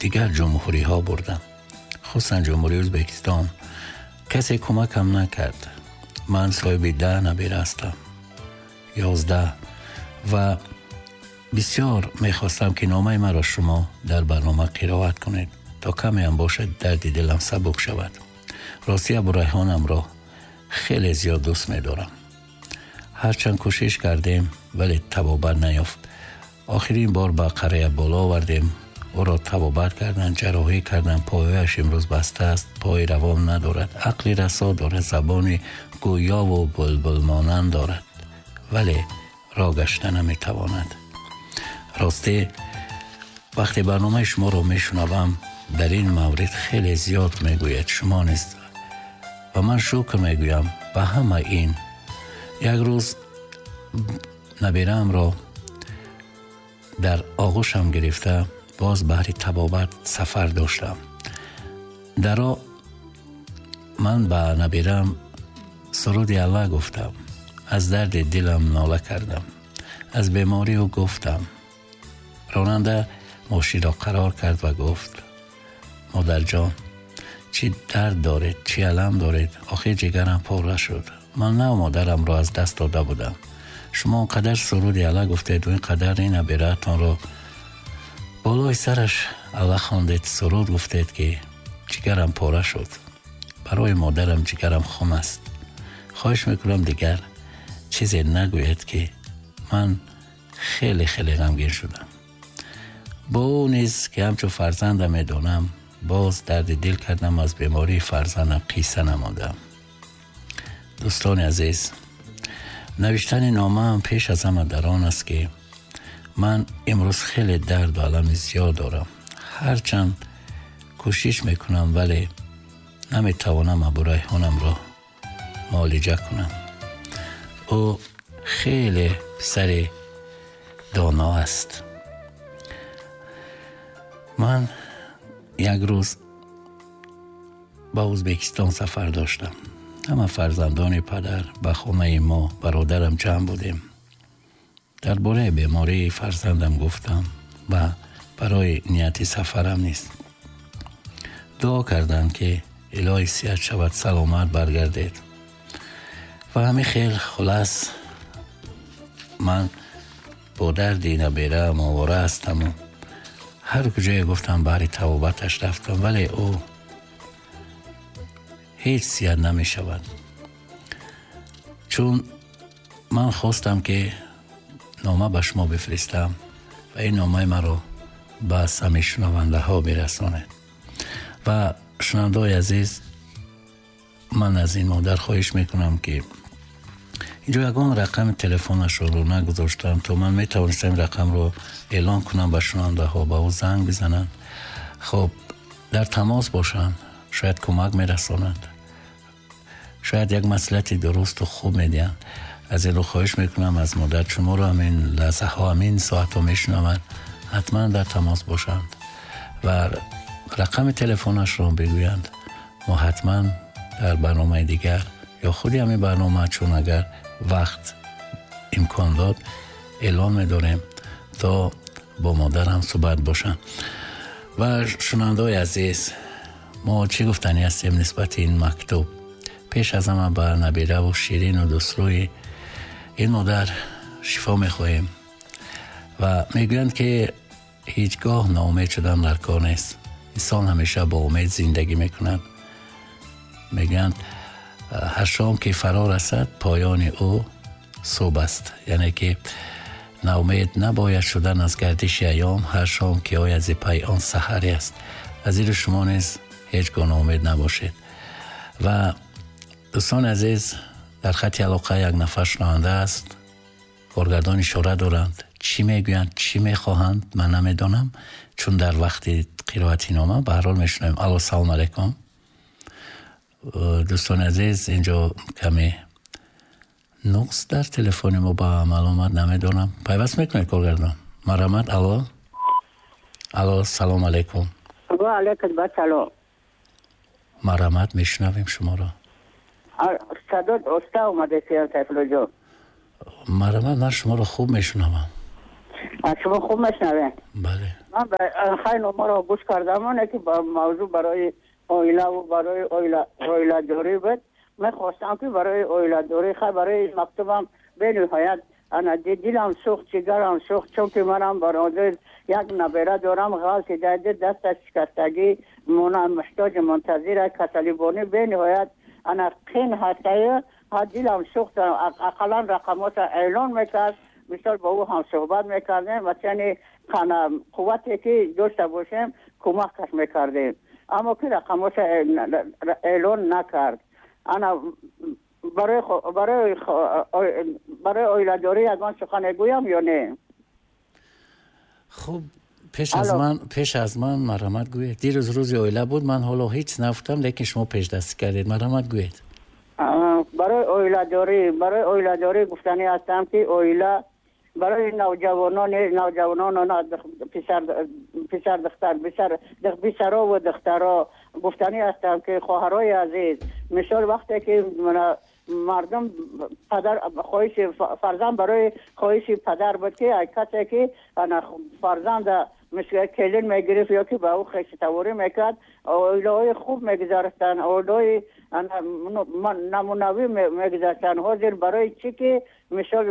Дигар ҷумҳуриҳо бурдам, хусусан Ҷумҳурии Ӯзбекистон. Касе кӯмакам накард. Ман соҳиби 10 набира ҳастам, 11, ва бисёр мехостам, ки номаи маро шумо дар барнома қироат кунед, то каме ҳам бошад дарди дилам сабук шавад. Рости, Абурайҳонамро хеле зиёд дӯст медорам. Ҳарчанд кӯшиш кардем, вале табобат наёфт. Охирин бор ба қария боло овардем, ӯро табобат карданд, ҷарроҳӣ карданд. Пойҳояш имрӯз баста аст, пои равон надорад, ақли расо дорад, забони гӯёву булбулмонанд дорад, вале роҳ гашта наметавонад. Росте, вақте барномаи шуморо мешунавам, дар ин маврид хеле зиёд мегӯяд шумо низ, ва ман шукр мегӯям ба ҳама ин. Як рӯз набираамро дар оғӯшам гирифта боз баҳри табобат сафар доштам. Даро ман ба набираам суруди Аллаҳ гуфтам, аз дарди дилам нола кардам, аз беморӣ ӯ гуфтам. Ронанда мошинро қарор кард ва гуфт: «Модарҷон, чӣ дард доред, чӣ алам доред? Охир ҷигарам пора шуд. Ман нав модарамро аз даст дода будам. Шумо он қадар суруди Аллаҳ гуфтед, ин қадар ин набираатонро болои сараш Аллаҳ хондед, суруд гуфтед, ки ҷигарам пора шуд. Барои модарам ҷигарам хун аст. Хоҳиш мекунам, дигар чизе нагӯед, ки ман хеле хеле ғамгин шудам.» Бо ӯ низ, ки ҳамчун фарзандам медонам, боз дарди дил кардам, аз бемории фарзандам қисса намудам. Дӯстони азиз, навиштани номаам пеш аз ҳама дар он аст, ки ман имрӯз хеле дарду алами зиёд дорам. Ҳарчанд кӯшиш мекунам, вале наметавонам Абурайҳонамро муолиҷа кунам. Ӯ хеле писари доно аст. Ман як рӯз ба Ӯзбекистон сафар доштам. Ҳама фарзандони падар ба хонаи мо, бародарам, ҷамъ будем. Дар бораи бемории фарзандам гуфтам ва барои нияти сафарам низ дуо карданд, ки илоҳӣ сиҳат шавад, саломат баргардед. Ва ҳамин хел, хулас, ман бо дарди набераам овора ҳастаму ҳар куҷое гуфтам, баҳри табобаташ рафтам, вале ӯ ҳеҷ сиҳат намешавад. Чун ман хостам, ки нома ба шумо бифиристам ва ин номаи маро ба сами шунавандаҳо бирасонед. Ва шунавандаҳои азиз, ман аз ин модар хоҳиш мекунам, ки инҷо ягон рақами телефонашро нагузоштам, то ман метавонистам рақамро эълон кунам ба шунавандаҳо, ба ӯ занг бизананд, хоб, дар тамос бошанд, шояд кӯмак мерасонанд, шояд як маслиҳати дурусту хуб медиҳанд. Аз ин рӯ хоҳиш мекунам аз модар, шуморо ҳамин лаҳзаҳо, ҳамин соатҳо мешунаванд, ҳатман дар тамос бошанд ва рақами телефонашро бигӯянд. Мо ҳатман дар барномаи дигар ё худи ҳамин барнома, чун агар вақт имкон дод, эълон медорем, то бо модарам суҳбат бошанд. Ва шунавандаҳои азиз, мо чӣ гуфтанӣ ҳастем нисбати ин мактуб? Пеш аз ҳама ба набираву ширину дӯстрӯи ин модар шифо мехоҳем. Ва мегӯянд, ки ҳеҷ гоҳ ноумед шудан дар кор нест. Инсон ҳамеша бо умед зиндагӣ мекунад. Мегӯянд, ҳар шом ки фаро расад, поёни ӯ субҳ аст. Яъне ки ноумед набояд шудан аз гардиши айём, ҳар шом ки ояд, зи пай он саҳаре аст. Аз ин рӯ шумо низ ҳеҷ гоҳ ноумед набошед. Ва дӯстони азиз, дар хати алоқа як нафар шунаванда аст. Коргардон ишора доранд, чӣ мегӯянд, чӣ мехоҳанд, ман намедонам, чун дар вақти қироати нома ба ҳар ҳол мешунавем. Алло, салому алайкум. Дӯстони азиз, инҷо каме нуқс дар телефони мо ба амал омад, намедонам. Пайваст мекунед, коргардон? Марҳамат. Алло, алло, салому алайкум. Ва алайкум ассалом. Марҳамат, мешунавем шуморо. Садот оста омада, Сайфуллоҷон. Марҳамат, ман шуморо хуб мешунавам. Шумо хуб мешунавед? Бале. Ман хай номаро гӯш кардам, оне ки ба мавзӯъ барои оила ва барои оиладорӣ буд. Мехостам ки барои оиладорӣ, хай барои мактубам бениҳоят ана дилам сӯхт, ҷигарам сӯхт, чунки манам бародар як набера дорам, ғалти дади дасташ шикастагӣ, муҳтоҷи мунтазира, касалибонӣ бениҳоят ана қин ҳастаю дилам сӯхт. Ақаллан рақамотро эълон мекард, мисол бо ӯ ҳам суҳбат мекардем ва чани қуввате ки дошта бошем кӯмакаш мекардем, аммо ки рақамотро эълон накард. Ана барои оиладорӣ ягон сухан гӯям ё не? Хуб, пеш аз ман марҳамат гӯед. Дирӯз рӯзи оила буд, ман ҳоло ҳеҷ нагуфтам, лекин шумо пешдастӣ кардед. Марҳамат гӯед. Барои оиладорӣ гуфтанӣ ҳастам ки оила барои навҷавонон, писар духтар, писаро ва духтаро гуфтанӣ ҳастам ки хоҳарои азиз, мисол вақте ки мардум падар хоҳиши фарзанд барои хоҳиши падар буд ки касе ки фарзанд мисли келин мегирифт ё ки ба ӯ хешитаворӣ мекард, оилаҳои хуб мегузаштанд, оилаҳои намунавӣ мегузаштанд. Ҳозир барои чӣ ки мисол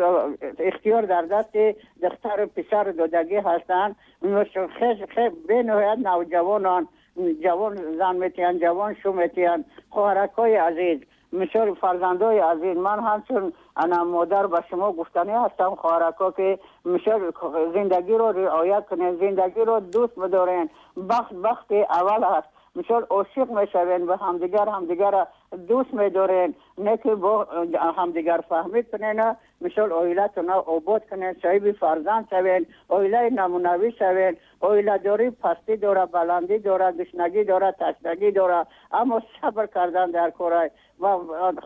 ихтиёр дар дасти духтару писару додагӣ ҳастанд, бениҳоят навҷавонон ҷавон зан метиҳанд, ҷавон шу метиҳанд. Хоҳаракҳои азиз, мисол фарзандои азиз, ман ҳамчун ана модар ба шумо гуфтанӣ ҳастам, хоҳаракҳо, ки мисол зиндагиро риоя кунед, зиндагиро дӯст бидорен. Бахт бахти аввал аст. Мисол ошиқ мешавен ба ҳамдигар, ҳамдигарро дӯст медорен, не ки бо ҳамдигар фаҳмӣ кунен, мисол оилатонро обод кунен, соҳиби фарзанд шавен, оилаи намунавӣ шавен. Оиладорӣ пастӣ дора, баландӣ дора, гушнагӣ дора, ташнагӣ дора, аммо сабр кардан дар корай. Ва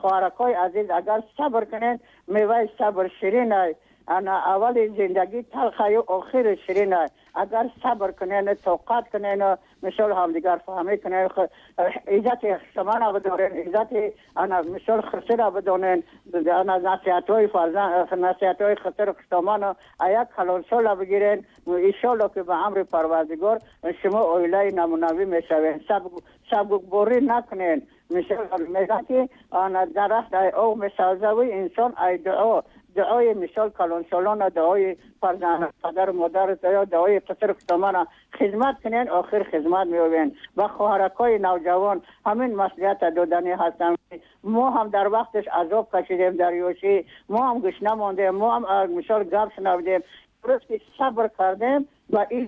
хоҳаракҳои азиз, агар сабр кунен, меваи сабр ширин ай. Ана аввали зиндагӣ талхаю охири ширин ай. Агар сабр кунен, тоқат кунен, мисол ҳамдигар фаҳмӣ кунен, иззати хусмана бидорен, иззати ана мисол хусра бидонен, ана насиҳатҳои фарзанд, насиҳатҳои хусру хусдоману як калонсола бигирен, иншолло ки ба амри Парвардигор шумо оилаи намунавӣ мешавен. Сабукборӣ накунен. Мисол мегӯянд ки ана дарахт ай об месабзаву инсон ай дуо. Дуои мисол калонсолона, дуои фарзанд, падару модар, дуои писару хусдомана хизмат кунен, охир хизмат меёбен. Ва хоҳаракҳои навҷавон ҳамин маслиҳата доданӣ ҳастам. Мо ҳам дар вақташ азоб кашидем дар ёшӣ, мо ҳам гушна мондем, мо ҳам мисол гап шунавдем. Дуруст ки сабр кардем ва ин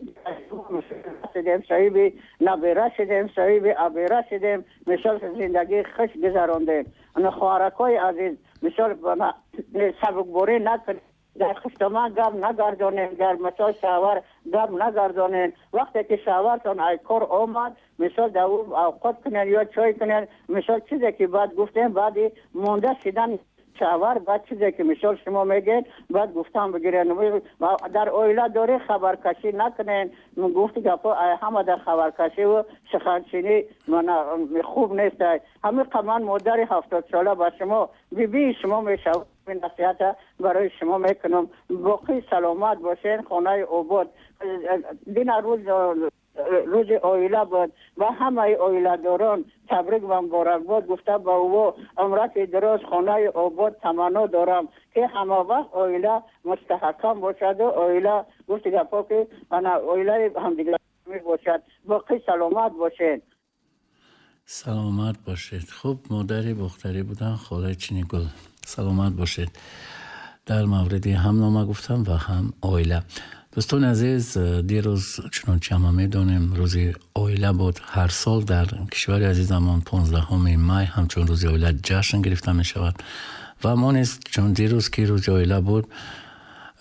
шудем, соҳиби набера шудем, соҳиби абера шудем, мисол зиндагии хуш гузарондем. Хоҳаракҳои азиз, мисол сабукборӣ накунед, дар хусдоман гап нагардонем, дар мисол шавҳар гап нагардонем. Вақте ки шавҳартон ай кор омад, мисол дар ӯ авқот кунед ё чой кунед, мисол чизе ки баъд гуфтем, баъди монда шидан шавҳар, баъд чизе ки мисол шумо мегӯед, баъд гуфтан бигиред. Дар оила дорӣ хабаркашӣ накунед. Гуфти гапҳо ҳама дар хабаркашиву суханчинӣ хуб нест. Ҳамин ман модари 70сола ба шумо, бибии шумо мешавам, насиҳата барои шумо мекунам. Боқӣ саломат бошед, хонаи обод. Дина рӯзи оила буд ва ҳамаи оиладорон табрик ва муборакбод гуфта ба ӯ умрати дароз, хонаи обод таманно дорам ки ҳама вақт оила мустаҳкам бошаду оила гуфти гапҳо ки ана оилаи ҳамдигар бошад. Боқӣ саломат бошед. Саломат бошед. Хуб, модари бохтарӣ будан холаи Чинигул. Саломат бошед. Дар мавриди ҳам нома гуфтам ва ҳам оила. Дӯстони азиз, дирӯз чунончи ҳама медонем, рӯзи оила буд. Ҳар сол дар кишвари азизамон 15 май ҳамчун рӯзи оила ҷашн гирифта мешавад ва мо низ чун дирӯз ки рӯзи оила буд,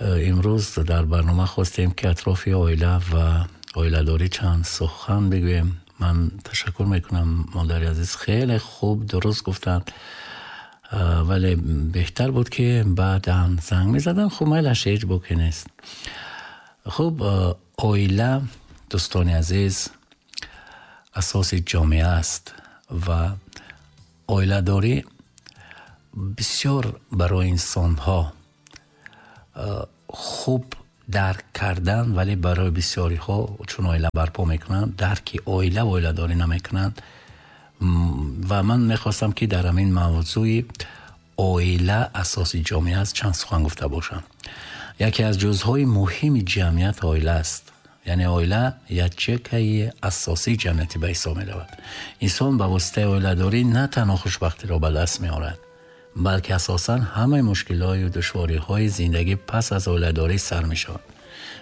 имрӯз дар барнома хостем ки атрофи оила ва оиладорӣ чанд сухан бигӯем. Ман ташаккур мекунам, модари азиз, хеле хуб дуруст гуфтанд, вале беҳтар буд ки баъдан занг мезаданд. Хуб, майлаш, ҳеҷ боке нест. Хуб, оила, дӯстони азиз, асоси ҷомеа аст ва оиладорӣ бисёр барои инсонҳо хуб Дарк кардан, вале барои бисёриҳо чун оила барпо мекунанд, дарки оила ва оиладорӣ намекунанд. Ва ман мехостам, ки дар ҳамин мавзӯи оила асоси ҷомеа аст чанд сухан гуфта бошам. Яке аз ҷузъҳои муҳими ҷамъият оила аст. Яъне оила ячейкаи асосии ҷамъиятӣ ба ҳисоб меравад. Инсон ба воситаи оиладорӣ на танҳо хушбахтиро ба даст меорад, балки асосан ҳамаи мушкилҳою душвориҳои зиндагӣ пас аз оиладорӣ сар мешаванд.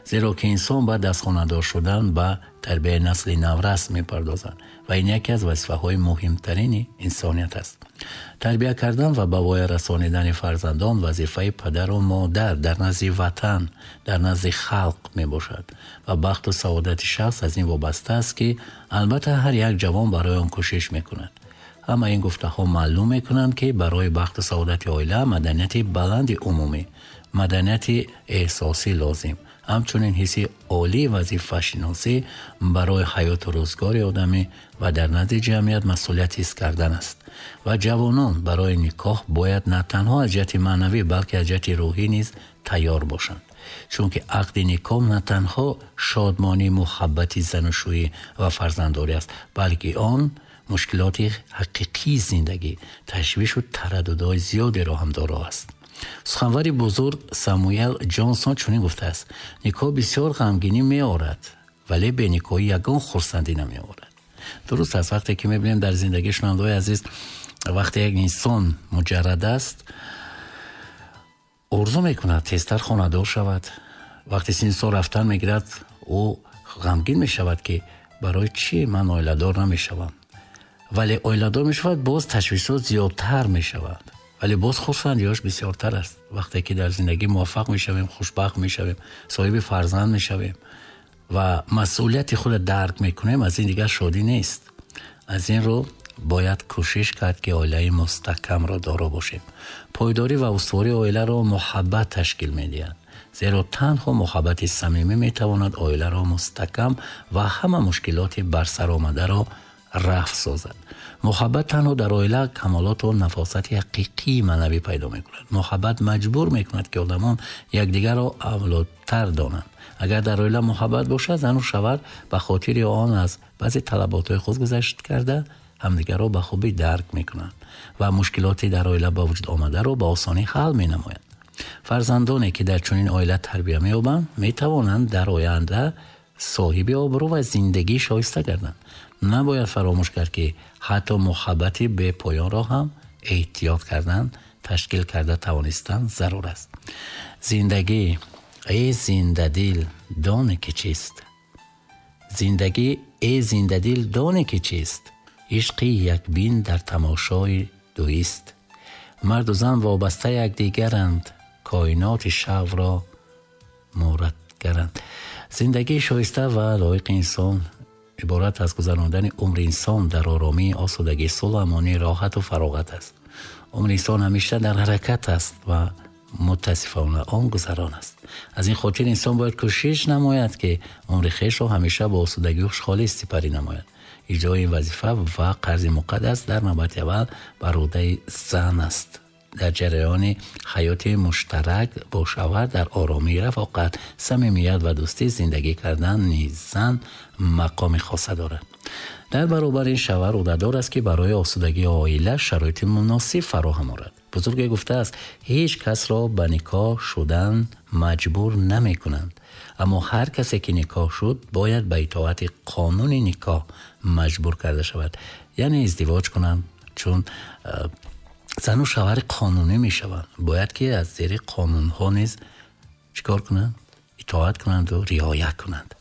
Зеро ки инсон баъд аз хонадор шудан ба тарбияи насли наврас мепардозад ва ин яке аз вазифаҳои муҳимтарини инсоният аст. Тарбия кардан ва ба воя расонидани фарзандон вазифаи падару модар дар назди ватан, дар назди халқ мебошад ва бахту саодати шахс аз ин вобаста аст, ки албатта ҳар як ҷавон барои он кӯшиш мекунад. Ҳама ин гуфтаҳо маълум мекунанд, ки барои бахту саодати оила маданияти баланди умумӣ, маданияти эҳсосӣ лозим, ҳамчунин ҳисси олии вазифашиносӣ барои ҳаёту рӯзгори одамӣ ва дар назди ҷамъият масъулият ҳис кардан аст. Ва ҷавонон барои никоҳ бояд на танҳо аз ҷиҳати маънавӣ, балки аз ҷиҳати рӯҳӣ низ тайёр бошанд. Чунки ақди никоҳ на танҳо шодмонӣ, муҳаббати занушӯӣ ва фарзанддорӣ аст, балки он мушкилоти ҳақиқии зиндагӣ, ташвишу тараддудҳои зиёдеро ҳам доро аст. Суханвари бузург Самуэл Ҷонсон чунин гуфтааст: никоҳ бисёр ғамгинӣ меорад, вале беникоҳӣ ягон хурсандӣ намеорад. Дуруст аст, вақте ки мебинем дар зиндагии шунавандаҳои азиз, вақте як инсон муҷаррад аст, орзу мекунад тезтар хонадор шавад. Вақте синни сол рафтан мегирад, ӯ ғамгин мешавад, ки барои чӣ ман оиладор намешавам. Вале оиладор мешавад, боз ташвишот зиёдтар мешавад, вале боз хурсандиҳояш бисёртар аст. Вақте ки дар зиндагӣ муваффақ мешавем, хушбахт мешавем, соҳиби фарзанд мешавем ва масъулияти худро дарк мекунем, аз ин дигар шодӣ нест. Аз ин рӯ бояд кӯшиш кард, ки оилаи мустаҳкамро доро бошем. Пойдорӣ ва устувории оиларо муҳаббат ташкил медиҳад, зеро танҳо муҳаббати самимӣ метавонад оиларо мустаҳкам ва ҳама мушкилоти барсаромадаро рафъ созад. Муҳаббат танҳо дар оила камолоту нафосати ҳақиқии маънавӣ пайдо мекунад. Муҳаббат маҷбур мекунад, ки одамон якдигарро авлодтар донанд. Агар дар оила муҳаббат бошад, зану шавҳар ба хотири он аз баъзе талаботҳои худ гузашт карда ҳамдигарро ба хубӣ дарк мекунанд ва мушкилоти дар оила ба вуҷуд омадаро ба осонӣ ҳал менамоянд. Фарзандоне, ки дар чунин оила тарбия меёбанд, метавонанд дар оянда соҳиби обрӯ ва зиндагии шоиста гарданд. Набояд фаромӯш кард, ки ҳатто муҳаббати бепоёнро ҳам эҳтиёт кардан, ташкил карда тавонистан зарур аст. Зиндагӣ, эй зиндадил, доне ки чист? Зиндагӣ, эй зиндадил, доне ки чист? Ишқи якбин дар тамошои дуист. Марду зан вобаста якдигаранд, коиноти шавро муратгаранд. Зиндагии шоиста ва лоиқи инсон иборат аз гузарондани умри инсон дар оромӣ, осудагӣ, сулҳу амонӣ, роҳату фароғат аст. Умри инсон ҳамеша дар ҳаракат аст ва мутаассифона он гузарон аст. Аз ин хотир инсон бояд кӯшиш намояд, ки умри хешро ҳамеша бо осудагию хушҳолӣ сипарӣ намояд. Иҷрои ин вазифа ва қарзи муқаддас дар навбати аввал бар уҳдаи зан аст. Дар ҷараёни ҳаёти муштарак бо шавҳар дар оромӣ, рафоқат, самимият ва дӯстӣ зиндагӣ кардан низ зан мақоми хоса дорад. Дар баробари ин шавҳар ӯҳдадор аст, ки барои осудагии оила шароити муносиб фароҳам орад. Бузурге гуфтааст, ҳеҷ касро ба никоҳ шудан маҷбур намекунанд, аммо ҳар касе ки никоҳ шуд бояд ба итоати қонуни никоҳ маҷбур карда шавад, яъне издивоҷ кунанд, чун зану шавҳари қонунӣ мешаванд. Бояд ки аз зери қонунҳо низ чикор кунанд? Итоат кунанду риоя кунанд.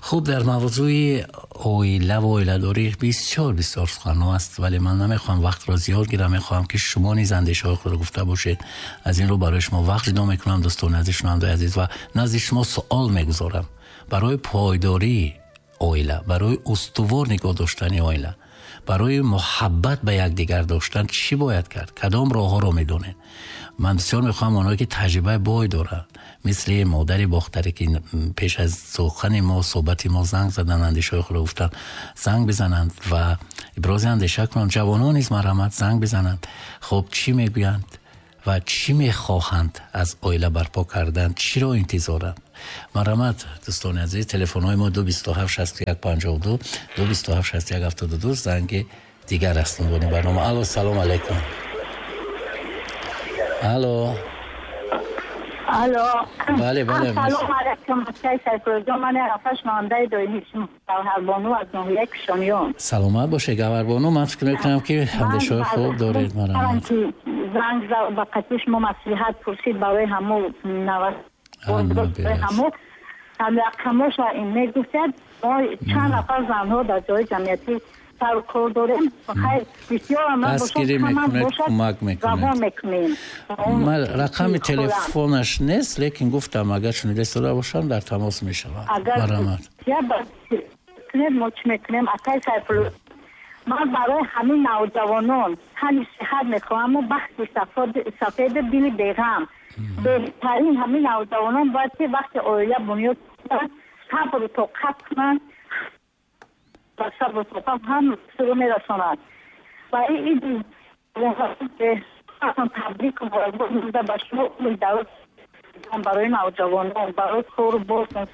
Хуб, дар мавзӯи оила ва оиладорӣ бисёр бисёр суханҳо аст, вале ман намехоҳам вақтро зиёд гирам, мехоҳам ки шумо низ андешаҳои худро гуфта бошед. Аз ин рӯ барои шумо вақт ҷудо мекунам, дӯстони азиз, шунавандаи азиз, ва назди шумо суол мегузорам. Барои пойдории оила, барои устувор нигоҳ доштани оила, барои муҳаббат ба якдигар доштан чӣ бояд кард? Кадом роҳҳоро медонед? Ман бисёр мехоҳам онҳое ки таҷрибаи бой доранд, мисли модари бохтаре ки пеш аз сухани мо, суҳбати мо занг заданд, андешаҳои худро гуфтанд, занг бизананд ва ибрози андеша кунанд. Ҷавонон низ марҳамат занг бизананд. Хуб, чӣ мегӯянд Ва чӣ мехоҳанд аз оила барпо кардан, чиро интизоранд? Марҳамат, дӯстони азиз, телефонҳои мо 227 61 52, 227 61 72. Занги дигар аст унвони барнома. Алло, салом алайкум. Алло. Алло. Бале, бале. Салом алайкум, акай Сайфуллоҷон, ман Арафа, шунавандаи доимии шумо, Гавҳарбону аз ноҳияи Кишониён. Саломат бошед, Гавҳарбону. Ман фикр мекунам, ки андешаҳои хуб доред. Марҳамат. Занг ба қатъи шумо маслиҳат пурсид барои ҳамо ҳамо рақамоша мегуфтед. Мо чанд нафар занҳо дар ҷои ҷамъиятӣ сару кор дорем. Хайр, бисёрам дастгирӣ мекунед, кӯмак мекунед. Мекунем. Рақами телефонаш нест, лекин гуфтам, агар шунида истода бошам, дар тамос мешавам. Марҳамат. Мо чӣ мекунем, акай Сайфулло? Ман барои ҳамин навҷавонон тани сиҳат мехоҳам, бахти сафеду дили беғам. Беҳтарин ҳамин навҷавонон бояд ки вақти оила бунёд кунанд, сабру тоқат кунанд ва сабру тоқат ҳам сиру мерасонад. Ва ин табрик ба шумо барои навҷавонон, барои кору бортон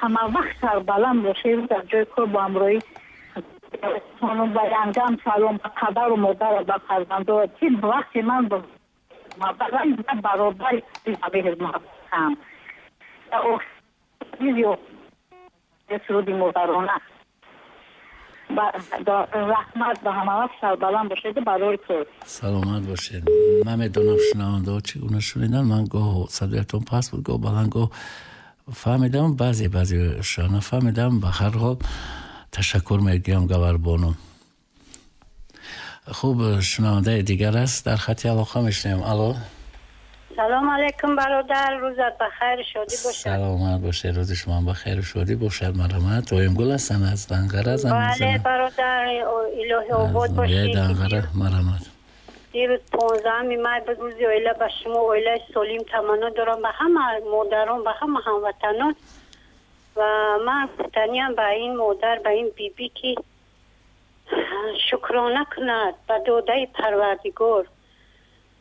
ҳама вақт сарбаланд бошед, дар ҷои кор бо ҳамроҳӣ ба янгам салом, ба падару модар, ба фарзандо. Ки вақти ман баробари меҳрмуҳаббатам суруди модарона. Раҳмат, ба ҳама вақт сарбаланд бошед барои кор. Саломат бошед. Ман медонам, шунавандаҳо чӣ гуна шуниданд. Ман гоҳ садоятон паст буд, гоҳ баланд, гоҳ фаҳмидам, баъзе баъзеша нафаҳмидам. Ба ҳар ҳол, ташаккур мегӯям, Гаварбону. Хуб, шунавандаи дигар аст дар хати алоқа, мешунавем. Алло. Салом алейкум, бародар, рӯзат ба хайру шодӣ бошад. Саломат бошед, рӯзи шумо ба хайру шодӣ бошад. Марҳамат, Оимгул ҳастанд, аз Данғара занг Бале, бародар, илоҳи обод бошед. Данғара, марҳамат. Дирӯз 15-уми май буд, рӯзи оила. Ба шумо оилаи солим таманно дорам, ба ҳама модарон, ба ҳама ҳамватанон. Ва ман гуфтаниям ба ин модар, ба ин бибӣ, ки шукрона кунад ба додаи Парвардигор.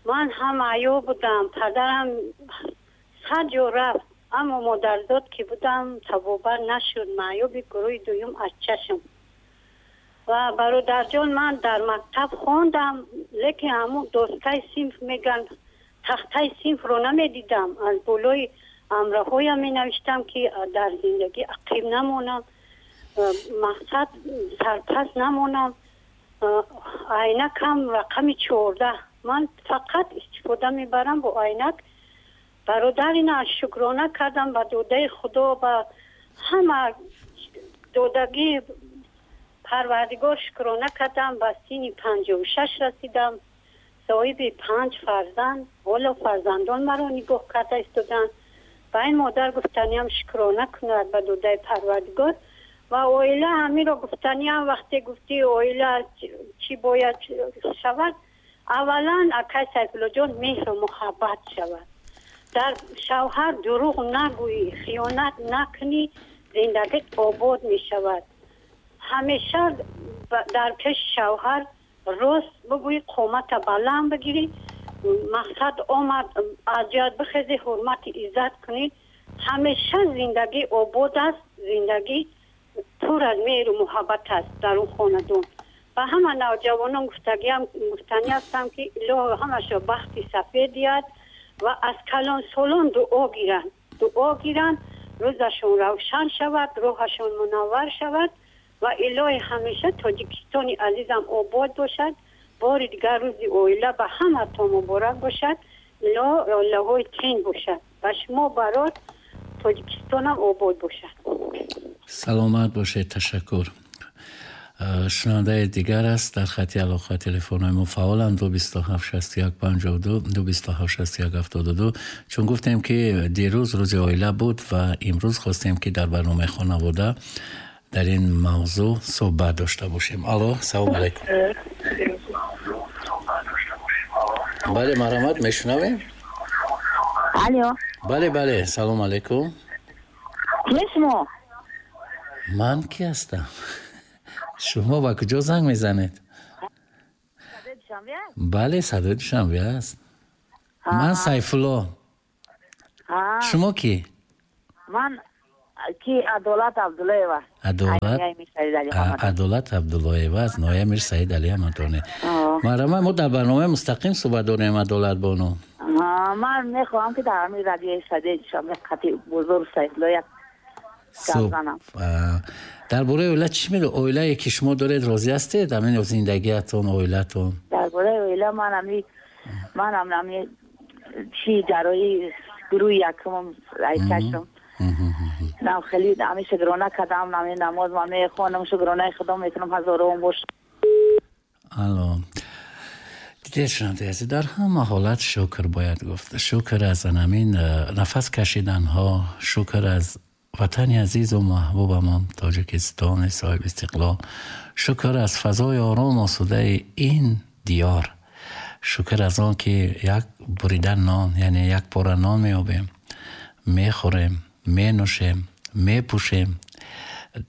Ман ҳам аё будам, падарам сад ҷо рафт, аммо модарзод ки будам, табобат нашуд, маъюби гурӯҳи дуюм аз чашм. Ва бародарҷон, ман дар мактаб хондам, лекин ҳамун доскаи синф меган, тахтаи синфро намедидам, аз болои амраҳоям менавиштам, ки дар зиндагӣ ақиб намонам, мақсад сарпас намонам. Айнакам рақами 14, ман фақат истифода мебарам бо айнак. Бародар, ина шукрона кардам ба додаи Худо, ба ҳама додагии Парвардигор шукрона кардам. Ба синни 56 расидам, соҳиби панҷ фарзанд. Ҳоло фарзандон маро нигоҳ карда истоданд. Ба ин модар гуфтаниям, шукрона кунад ба додаи Парвардигор. Ва оила, ҳаминро гуфтаниям, вақте гуфтӣ оила чӣ бояд шавад, аввалан, акай Сайфуллоҷон, меҳру муҳаббат шавад дар шавҳар, дурӯғ нагӯӣ, хиёнат накунӣ, зиндагит обод мешавад. Ҳамеша дар пеши шавҳар рост бигӯӣ, қомата баланд бигирӣ, мақсад омад, аз ҷоят бихезӣ, ҳурмати иззат кунӣ, ҳамеша зиндагӣ обод аст, зиндагӣ пур аз меҳру муҳаббат аст дар он хонадон. Ба ҳама навҷавонон гуфтагиам, гуфтанӣ ҳастам, ки Илоҳо ҳамашо бахти сафед диҳад ва аз калонсолон дуо гиранд, дуо гиранд, рӯзашон равшан шавад, роҳашон мунаввар шавад ва илоҳи ҳамеша Тоҷикистони азизам обод бошад. Бори дигар рӯзи оила ба ҳаматон муборак бошад, илоҳ оилаҳои тин бошад, ба шумо барот, Тоҷикистонам обод бошад. Саломат бошед, ташаккур. Шунавандаи дигар аст дар хати алоқа. Телефонҳои мо фаъоланд: 227 61 52, 227 61 72. Чун гуфтем, ки дирӯз рӯзи оила буд ва имрӯз хостем, ки дар барномаи хонавода дар ин мавзӯъ суҳбат дошта бошем. Алло, салому алайкум. Бале, марҳамат, мешунавем. Алло. Бале, бале, салому алайкум. Ки шумо? Ман ки ҳастам? Шумо ба куҷо занг мезанед? Бале, Садои Душанбе аст. Ман Сайфулло. Шумо кӣ? Ман ки Адолат Абдуллоева. Адолат Абдуллоева аз ноҳияи Мир Саид Али Ҳамадонӣ. Марҳамат, мо дар барномаи мустақим суҳбат дорем, Адолат бону. Ман мехоҳам ки дар ҳамин радиои Садои Душанбе қати бузург Сайфулло як гап занам. Дар бораи оила чӣ мегӯед? Оилае ки шумо доред розӣ ҳастед? Ҳамин зиндагиатон, оилатон? Дар бораи оила ман ҳами чӣ ҷарроҳии гурӯҳи якумам айкашам. Нам хеле ҳами шукрона кардам, ҳами намоз ман мехонам, шукронаи худо мекунам, ҳазорон бош. Алло. Дидед, шунавандаи азиз, дар ҳама ҳолат шукр бояд гуфт. Шукр аз ҳамин нафас кашиданҳо, шукр аз ватани азизу маҳбубамон Тоҷикистони соҳиби истиқлол, шукр аз фазои ором осудаи ин диёр, шукр аз он ки як бурида нон, яъне як пора нон меёбем, мехӯрем, менӯшем, мепӯшем,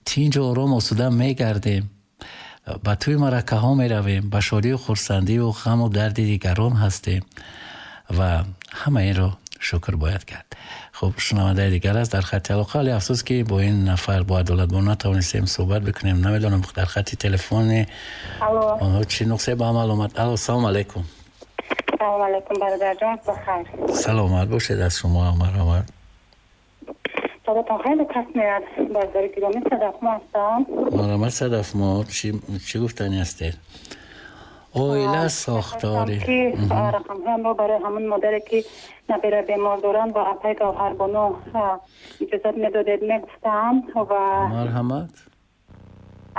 тинҷу ором осуда мегардем, ба тӯи маъракаҳо меравем, ба шодию хурсандию ғаму дарди дигарон ҳастем ва ҳама инро шукр бояд кард. Хуб, шунавандаи дигар аст дар хати алоқа. Вале афсӯс ки бо ин нафар, бо Адолатбону натавонистем суҳбат бикунем. Намедонам дар хати телефони онҳо чӣ нуқсе ба амал омад. Алло, салом алейкум. Салом алейкум, бародарҷон, бахайр. Саломат бошед, аз шумо марҳамат. Садотон хеле паст меяд, бародари гиромӣ. Садафмо ҳастам. Марҳамат, Садафмо, чӣ гуфтанӣ ҳастед? Оила сохтори ки рақамҳоямро барои ҳамон модаре ки набера бемор доранд бо апаи Гавҳарбону иҷозат медодед мегуфтам ва марҳамат.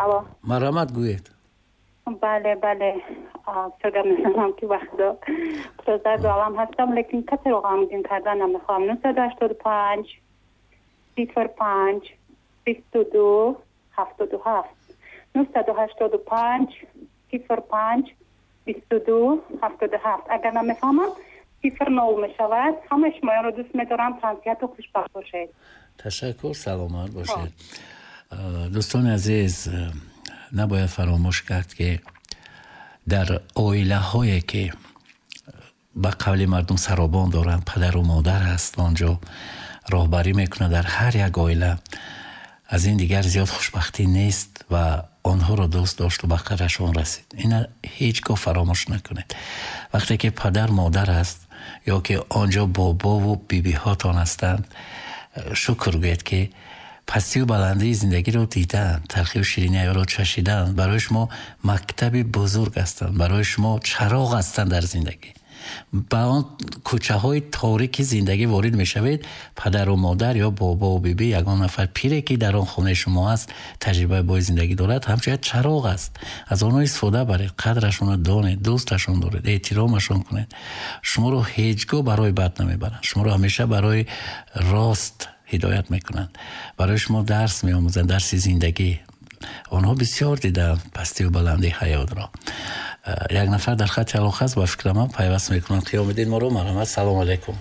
Алло, марҳамат, гӯед. Бале, бале, бисёр гап мезанам ки вақтдо пурзарду алам ҳастам, лекин касеро ғамгин кардан намехоҳам. 985 05 22 77 985 05 22 77. Агар намефаҳмам, 09 мешавад. Ҳамаи шумоёнро дӯст медорам. Тансиҳату хушбахт бошед. Ташаккур, саломат бошед. Дӯстони азиз, набояд фаромӯш кард ки дар оилаҳое ки ба қавли мардум саробон доранд, падару модар ҳаст, онҷо роҳбарӣ мекунад дар ҳар як оила, аз ин дигар зиёд хушбахтӣ нест ва онҳоро дӯст дошту ба қадрашон расид. Ина ҳеҷ гоҳ фаромӯш накунед. Вақте ки падар модар аст ё ки онҷо бобову бибиҳотон ҳастанд, шукр гӯед ки пастию баландии зиндагиро дидаанд, талхию шириниро чашидаанд, барои шумо мактаби бузург ҳастанд, барои шумо чароғ ҳастанд дар зиндагӣ. Ба он кӯчаҳои торики зиндагӣ ворид мешавед, падару модар ё бобову биби, ягон нафар пире ки дар он хонаи шумо аст, таҷрибаи бои зиндагӣ дорад, ҳамчун як чароғ аст. Аз онҳо истифода баред, қадрашонро донед, дӯсташон доред, эҳтиромашон кунед. Шуморо ҳеҷ гоҳ барои бад намебаранд, шуморо ҳамеша барои рост ҳидоят мекунанд, барои шумо дарс меомӯзанд, дарси зиндагӣ. Онҳо бисёр дидаанд пастию баландии ҳаётро. Як нафар дар хати алоқа аст, ба фикри ман пайваст мекунанд. Қиёмиддин моро, марҳамат. Салом алейкум.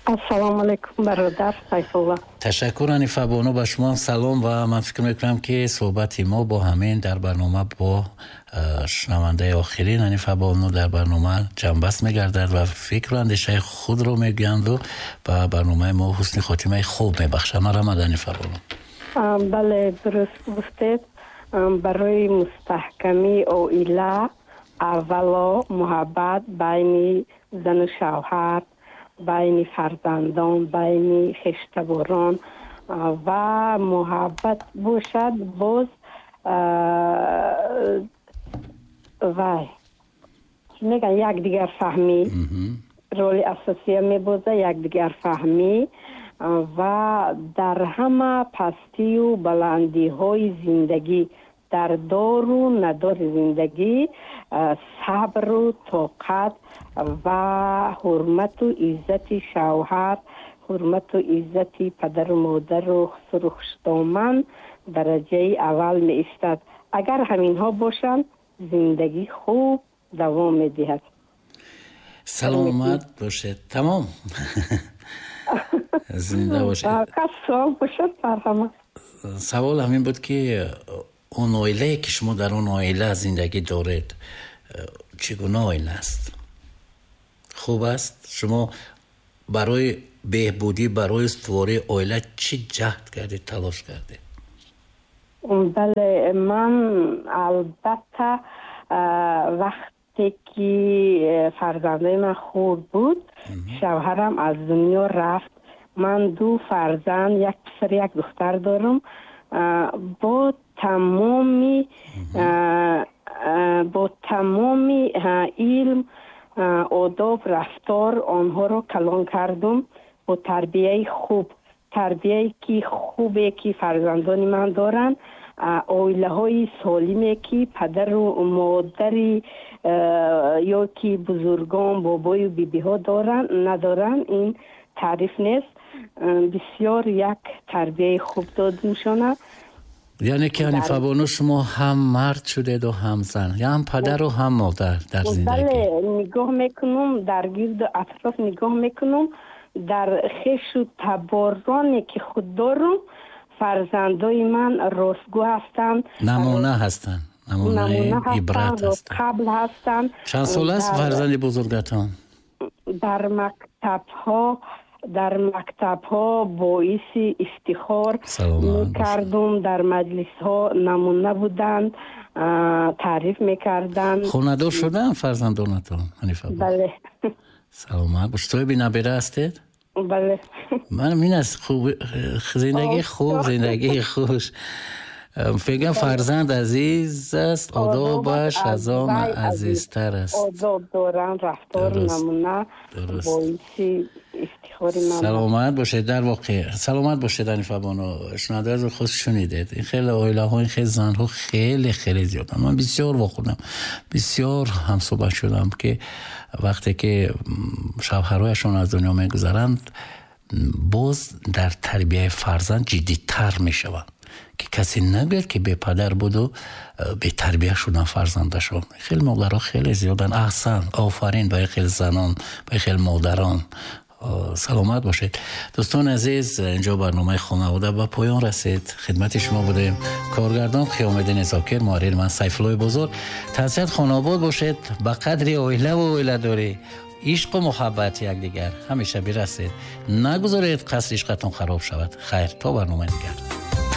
Ассалому алейкум, бародар Сайфулло. Ташаккур, Ҳанифа бону, ба шумо салом. Ва ман фикр мекунам ки суҳбати мо бо ҳамин дар барнома бо шунавандаи охирин Ҳанифа бону дар барнома ҷамъбаст мегардад ва фикру андешаи худро мегӯянду ба барномаи мо ҳусни хотимаи хуб мебахшад. Марҳамат, Ҳанифа бону. Бале, дуруст гуфтед. Барои мустаҳкамии оила аввало муҳаббат байни зану шавҳар, байни фарзандон, байни хештаборон ва муҳаббат бошад, боз вай мегӯянд якдигарфаҳмӣ роли асосия мебозад, якдигарфаҳмӣ ва дар ҳама пастию баландиҳои зиндагӣ, дар дору надори зиндагӣ сабру тоқат ва ҳурмату иззати шавҳар, ҳурмату иззати падару модару хусуру хушдоман дараҷаи аввал меистад. Агар ҳаминҳо бошанд, зиндагӣ хуб давом медиҳад. Саломат бошед. Тамом. Зинда бошед. Суол бошад, марҳамат. Савол ҳамин буд ки он оилае ки шумо дар он оила зиндагӣ доред, чӣ гуна оила аст? Хуб аст. Шумо барои беҳбудӣ, барои устувории оила чӣ ҷаҳд кардед, талош кардед? Бале, ман албатта вақте ки фарзандои ман хурд буд, шавҳарам аз дунё рафт. Ман ду фарзанд, як писар, як духтар дорам. Бо тамоми илм, одоб, рафтор онҳоро калон кардум бо тарбияи хуб. Тарбияе ки хубе ки фарзандони ман доранд, оилаҳои солиме ки падару модари ё ки бузургон, бобою бибиҳо доранд, надоранд, ин таъриф нест. Бисёр як тарбияи хуб додумшона. Яъне ки Ҳанифабону, шумо ҳам мард шудеду ҳам зан, ҳам падару ҳам модар дар зиндагӣ. Бале, нигоҳ мекунам, дар гирду атроф нигоҳ мекунам, дар хешу табороне ки худ дорам, фарзандои ман ростгӯ ҳастанд, намуна ҳастанд, намунаи ибрат ҳастанд, қабл ҳастанд. Чанд сол аст фарзанди бузургатон? Дар мактабҳо боиси ифтихор мекардум, дар маҷлисҳо намуна буданд, таъриф мекарданд. Хонадор шуданд фарзандонатон, Ҳанифа? Бале. Саломат бош. Соҳиби набера ҳастед? Бале. Ман ин аст хуб, зиндагии хуб, зиндагии хуш. Мегӯям фарзанд азиз аст, одобаш аз он азизтар аст. Одоб доранд, рафтор намуна, боиси ифтихори ман. Саломат бошед, дар воқеъ саломат бошед, Ҳанифабону. Шунавандаро худ шунидед. Ин хеле оилаҳо, ин хеле занҳо хеле хеле зиёданд. Ман бисёр вохӯрдам, бисёр ҳамсӯҳбат шудам ки вақте ки шавҳарҳояшон аз дунё мегузаранд, боз дар тарбияи фарзанд ҷиддитар мешаванд, ки касе нагӯяд ки бепадар буду бетарбия шудан фарзандашон. Хеле модарҳо хеле зиёданд. Аҳсан, офарин ба хеле занон, ба хеле модарон. Саломат бошед. Дӯстони азиз, инҷо барномаи хонавода ба поён расид. Хидмати шумо будем. Коргардон Қиёмиддин Зокир, муҳаррир ман Сайфуллои Бозор. Тансиҳат хонобод бошед, ба қадри оилаву оиладорӣ, ишқу муҳаббат якдигар ҳамеша бирасед. Нагузоред қасри ишқатон хароб шавад. Хайр, то барномаи дигар.